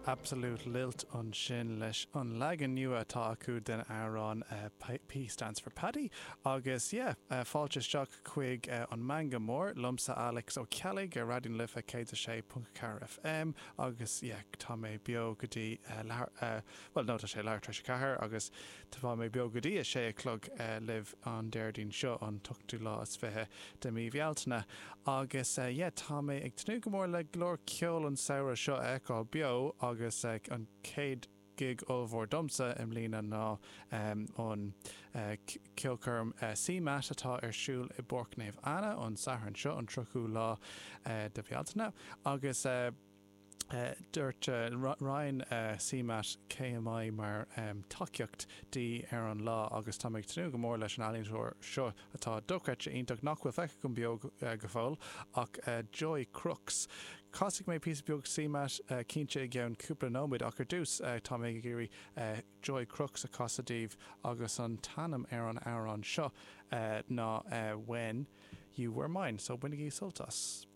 Absolute Lilt ansin leis an leagan nua atá acu den amhrán P Stands for Paddy agus yeah, fáilte isteach chuig an Meangadh Mór liomsa Alex Ó Ceallaigh ar Raidió na Life 106.4 FM agus yeah, tá mé beo go dtí leathuair, bhuel no tá sé leathuair tar éis a ceathair agus Tá mé beo go dtí a sé a chlog libh an Déardaoin seo, an t-ochtú lá is fiche de mí Bhealtaine. Agus yeah, tá mé ag tnúth go mór le go leor ceoil an samhradh seo a fheiceáil beo agus an chéad gig ollmhór domsa i mbliana ná an ceolchoirm CMAT atá ar siúl i bPáirc Naomh Anna an Satharn seo, an 30ú lá de Bhealtaine. Agus. Dúirt roinn CMAT KMI mar tacaíocht di ar an lá agus tá mé ag tnúth go mór leis an ealaíontóir seo atá dochreidte iontach nach bhfuil feicthe agam beo go fóill ach Joy Crookes. Casfaidh mé píosa beag CMAT cinnte i gceann cúpla nóiméad ach ar dtús tá mé ag iarraidh Joy Crookes a chasadh daoibh agus an t-ainm ar an amhrán seo ná When You Were Mine so bainigí sult as.